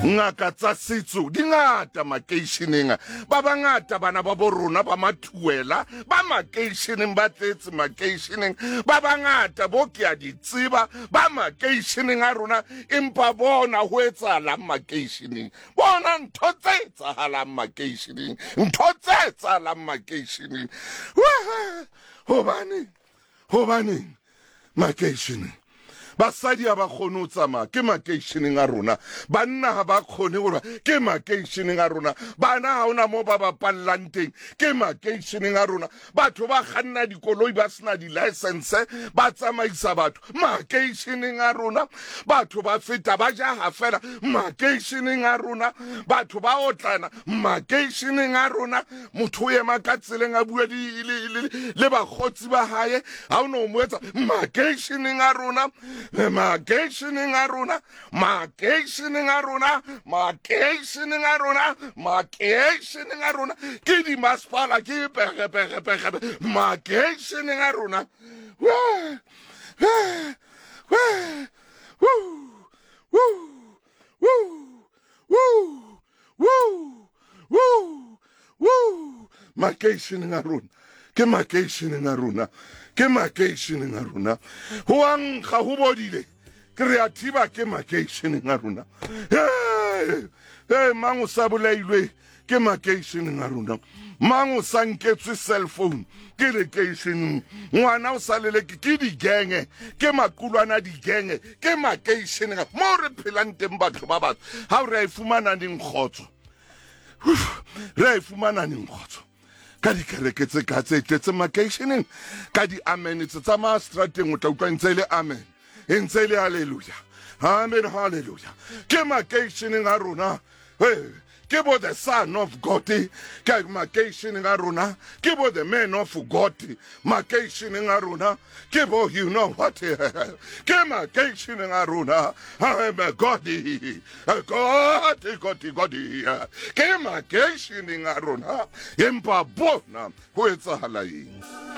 Ngaka tsa setso di ngata makeisheneng. Ba bangata bana ba bo rona ba mathuela ba makeisheneng, ba tletse makeisheneng. Ba bangata bo ke a di tseba ba makeisheneng a rona, empa bona ho etsahalang makeisheneng? Bona ntho tse etsahalang makeisheneng, ntho tse etsahalang makeisheneng. Hobaneng? Hobaneng? Makeisheneng basadi ha ba kgone ho tsamaya, ke makeisheneng a rona. Banna ha ba kgone gore, ke makeisheneng a rona. Bana ha ona mo ba bapallang teng, ke makeisheneng a rona. Batho ba kganna dikoloi ba sena di-license, ba tsamaisa batho makeisheneng a rona. Batho ba feta ba jaha fela makeisheneng a rona. Batho ba otlana makeisheneng a rona. Motho o ema ka tseleng a bua le bakgotsi ba hae, ha o no mo etsa makeisheneng a rona, makeisheneng a rona, makeisheneng a rona, makeisheneng a rona, makeisheneng a rona. Ke dimasepala ke pege pege pege makeisheneng a rona. Makeisheneng a rona, ke makeisheneng a rona, ke makeisheneng a rona. Ho a nkga, ho bodile, ke re a thiba, ke makeisheneng a rona. Ee, mang o sa bolailwe, ke makeisheneng a rona. Mang o sa nketswe cell phone, ke lekeisheneng. Ngwana o sa leleke ke digenge, ke maqulwana digenge, ke makeisheneng mo re phelang teng. Batho ba batho, ga o re a e fumana neng kgotso? Re a e fumana neng kgotso ka dikereke tse ka tse tletse makeisheneng, ka di-amen tse tsamaya strateng, o tla utlwa ntse e le amen, e ntse e le halleluja, amen, halleluja? Ke makeisheneng a rona, ke bo the son of God, ke makeisheneng a rona, ke bo the man of God makeisheneng a rona, ke bo you know what, ke makeisheneng a rona. I'm a God, God, God, God, ke makeisheneng a rona, empa bona ho etsahala eng?